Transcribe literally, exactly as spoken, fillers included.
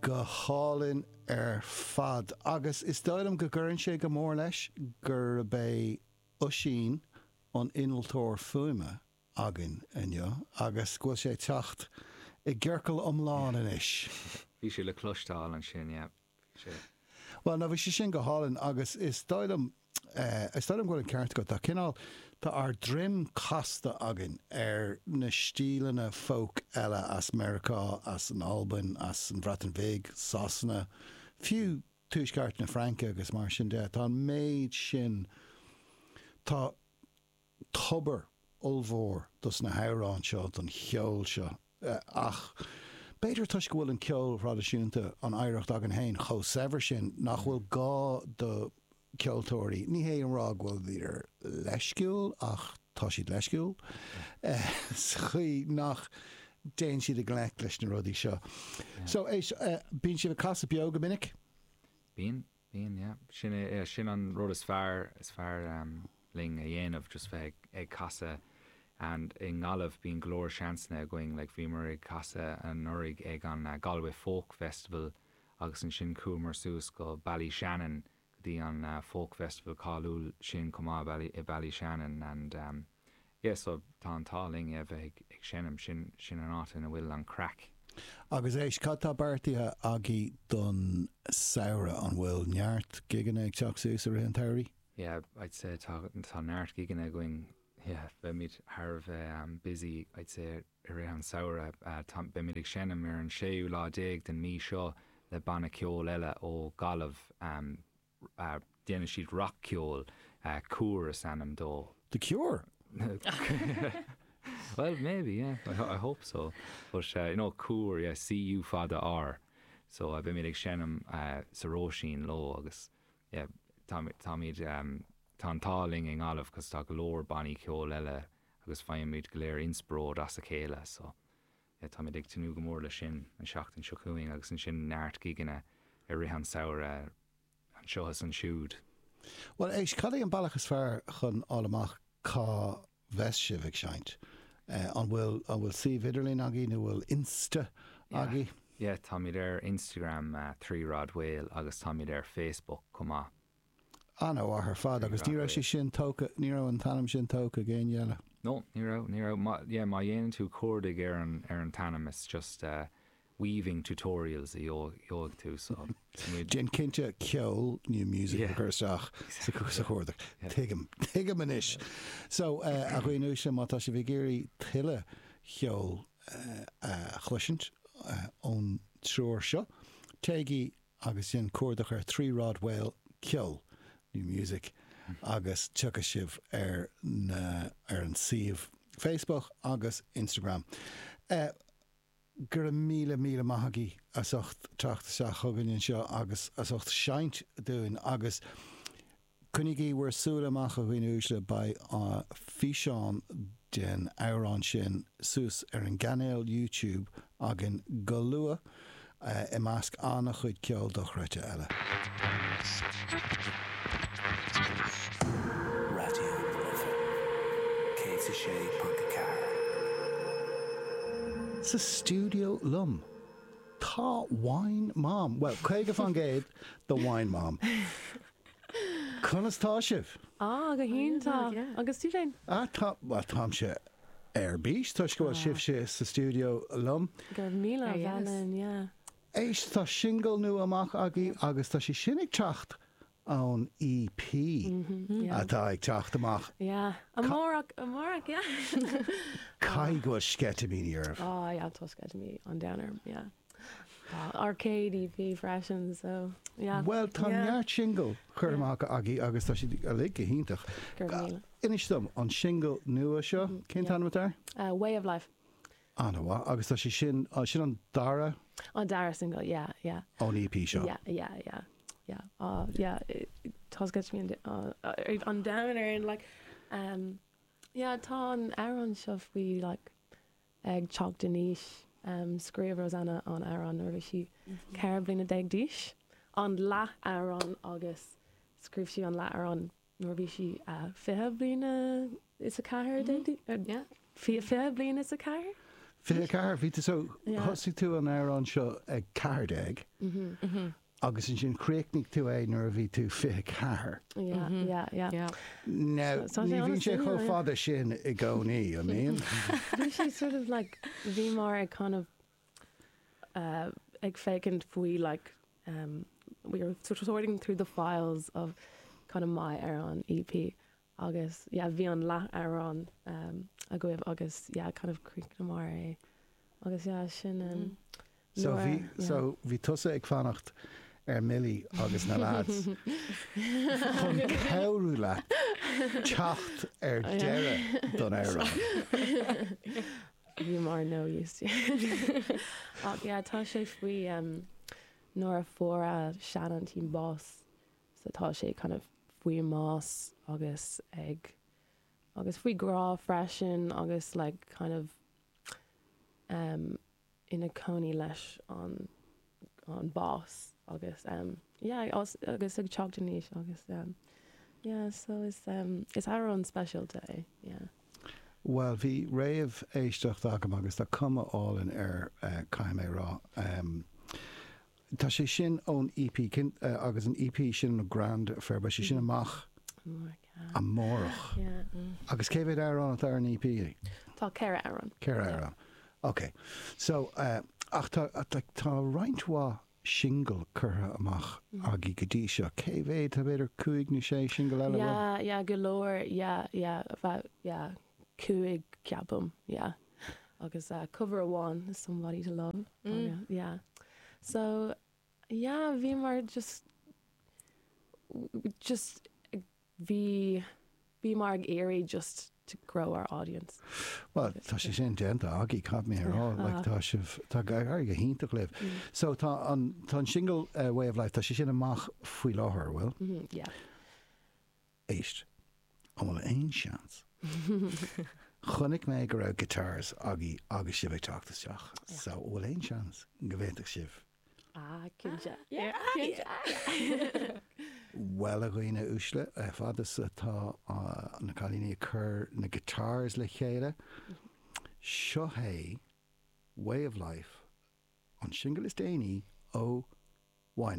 Go hálainn ar fad agus is dóigh liom go gcuireann sé go mór leis gurb é Oisín an innealtóir fuaime againn inniu agus go bhfuil sé ag teacht i gciorcal iomlán anois. Bhí sé le cloisteáil ansin, yeah. Bhí sé. Bhuel, no, bhí sé sin go hálainn agus is dóigh liom, is dóigh liom go bhfuil an ceart agat. Tá cineál, tá ár droim casta againn ar na stíleanna folk eile as Meiriceá, as an Albain, as an Bhreatain Bhig, Sasana, fiú tuaisceart na Fraince agus mar sin de. Tá an méid sin, tá tobar ollmhór dos na hamhráin seo, don cheol seo. Ach b'fhéidir toisc go bhfuil an ceol thraidisiúnta, an oidhreacht againn féin, chomh saibhir sin, nach bhfuil gá do cheoltóirí, ní hé a rá go bhfuil siad leisciúil ach tá siad leisciúil, sa chaoi nach dtéann siad i ngleic leis na rudaí seo. So, éist, bíonn sibh ag casadh beo go minic? Bíonn, bíonn, yeah. Sin é, sin an rud is fearr, is fearr linn a dhéanamh, just bheith ag, ag casadh and i nGaillimh bíonn go leor seansanna againn, like bhíomar ag casadh anuraidh ag an Galway Folk Festival agus ansin chuamar suas go Ballyshannon go dtí an Folk Festival cáiliúil sin chomh maith Bally, i Ballyshannon and um, yeah, so tá an t-ádh linn yeah, bheith ag, ag seinm, sin, sin an áit ina bhfuil an craic. Agus éist, cad tá beartaithe agaibh don samhradh? An bhfuil neart gigeanna ag teacht suas i rith an tsamhraidh? Yeah, I'd say tá, tá neart gigeanna againn, yeah, beimid thar a bheith um, busy, I'd say, i rith an samhradh. Uh, tá, beimid ag seinm ar an séú lá déag den mí seo le banna ceoil eile ó Gaillimh. Um, uh, déanann siad rac-cheol, uh, Cúr is ainm dó. The Cure? Well, maybe, yeah. I, I hope so. But, uh, you know, Cúr, yeah, C-U fada R. So, uh, beimid ag seinm uh, sa Róisín leo agus, yeah, táimid, táimid, um, tá an t-ádh linn i nGaillimh cos tá go leor bannaí ceoil eile agus faighimid go léir inspioráid as a chéile. So, yeah, táimid ag tnúth go mór leis sin an seachtain seo chugainn agus ansin neart gigeanna i rith an samhradh anseo is ansiúd. Well, éist, cad é an bealach is fearr chun fháil amach cá bheas sibh ag seinnt? Uh, an bhfuil an bhfuil suíomh idirlín agaibh nó bhfuil Insta agaibh? Yeah, táimid ar Instagram uh, Three Rod Whale agus táimid ar Facebook chomh maith. An-mhaith ar fad agus ní raibh sé sin tógtha, ní raibh an t-ainm sin tógtha ag éinne eile. No, ní raibh, ní raibh. Má, yeah, má dhéanann tú cuardach ar an, ar an t-ainm, it's just uh, weaving tutorials a gheobhaidh tú, so muid Déan cinnte ceol new music a chur isteach sa sa chuardach. Tuigim, tuigim anois. So, uh, a dhaoine uaisle, má tá sibh ag iarraidh tuilleadh cheol uh, a chloisint uh, ón triúr seo, téigí agus déan cuardach ar Three Rod Whale ceol new music agus tiocfaidh sibh ar na ar an suíomh Facebook agus Instagram. Uh, go raibh míle míle maith agaibh as ucht teacht isteach chugainn anseo agus as ucht seinnt dúinn agus coinnígí bhur súile amach a dhaoine uaisle beidh físeán den amhrán sin suas ar an gcainéal YouTube againn go luath i measc an-chuid ceol dochreidte eile. Raidió na Life céad a sé ponc a ceathair. Sa stiúideo liom tá Wine Mom, well caoga faoin gcéad de Wine Mom. Conas tá sibh? Á, go hiontach. Agus tú féin? Ah, tá, well táimse ar bís toisc go bhfuil sibhse sa stiúideo liom. Go raibh míle maith linn, yeah. Éist, tá singil nua amach agaibh agus tá sé sin ag teacht ón EP atá ag teacht amach. Yeah. Amárach, amárach, yeah. Caithfidh go bhfuil sceitimíní oraibh. Á, yeah, tá sceitimíní an domhain orm, yeah. Tá ár céad EP freisin, so, yeah. Well, tá neart singil curtha amach agaibh agus tá siad uilig go hiontach. Go raibh míle. Inis dom, an singil nua seo, cén t-ainm atá air? Uh, Way of Life. An-mhaith, agus tá sé sin, sin an dara? An dara single, yeah, yeah. Ón EP seo? Yeah, yeah, yeah, yeah. Uh, yeah, tá sceitimíní an domhain orainn, like, um, yeah, tá an amhrán seo faoi, like, ag teacht in aois. Um, scríobh Rosanna an amhrán nuair a bhí sí ceithre bliana déag d'aois. An leath amhrán agus scríobh sí an leath amhrán nuair a bhí sí uh, fiche bliana is a ceathair déag, uh, fiche bliana is a ceathair? Fiche ceathair bhí tú so Yeah. thosaigh tú an amhrán seo ag ceathair déag Mhm. Mhm. agus ansin chríochnaigh tú é nuair a bhí tú fiche ceathair. Yeah, yeah, yeah. Yeah. Now, So- so ní sé bhíonn sé an-suimiúil, chomh yeah. fada sin i gcónaí, I mean. Bhí sé sort of like bhí mar ag kind of uh, ag féachaint faoi like um, we were sort of sorting through the files of kind of my amhrán EP agus yeah bhí an leath amhrán um, agaibh agus yeah kind of chríochnamar é agus yeah sin um, So nuair- bhí yeah. so bhí tusa ag fanacht ar Millie agus na lads chun cabhrú leat teacht ar Yeah. deireadh don amhrán. bhí mar no use Ach yeah tá sé faoi um, nuair a fuair a seanaintín bás so tá sé kind of faoi mbás agus ag agus faoi grá freisin agus like kind of um, ina cónaí leis an an bás agus um, yeah agus agus ag teacht in aois agus um, yeah so is um, is amhrán speisialta é yeah Well, bhí réamhéisteacht agam agus tá cuma álainn air uh, caithfidh mé rá. Um, tá sé sin ón EP cin, uh, agus an EP sin an Grand Affair, beidh sé sin amach Amárach, yeah. amárach. yeah Agus cé mhéad amhrán atá ar an EP? Tá ceithre amhrán Ceithre amhrán. Ok. So uh, ach tá, tá, tá roinnt mhaith single curtha amach agaibh go dtí seo. Cé mhéad tá b'fhéidir cúig nó sé single eile? Yeah, yeah, go leor, yeah, yeah, about, yeah, cúig ceapaim, yeah. Agus uh, cover amháin, somebody to love. Mm. Yeah. So, yeah, bhí mar just just bhí bhí mar ag iarraidh just to grow our audience. Well, tá sé sin déanta agaibh caithfidh mé rá, like, tá sibh tá go go hiontach libh. Mm. So tá an tá an single uh, Way of Life tá sé sin amach faoi láthair, bhfuil? Mm -hmm, yeah. Éist. An bhfuil aon seans. Chonaic mé go raibh guitars agaibh agus sibh ag teacht isteach. So bhfuil aon seans go bhféadfadh sibh. Ah, cinnte. Yeah. Cinnte. Well a dhaoine uaisle fad is atá uh, na cailíní ag cur na guitars le chéile. Seo é Way of Life an single is déanaí ó Wine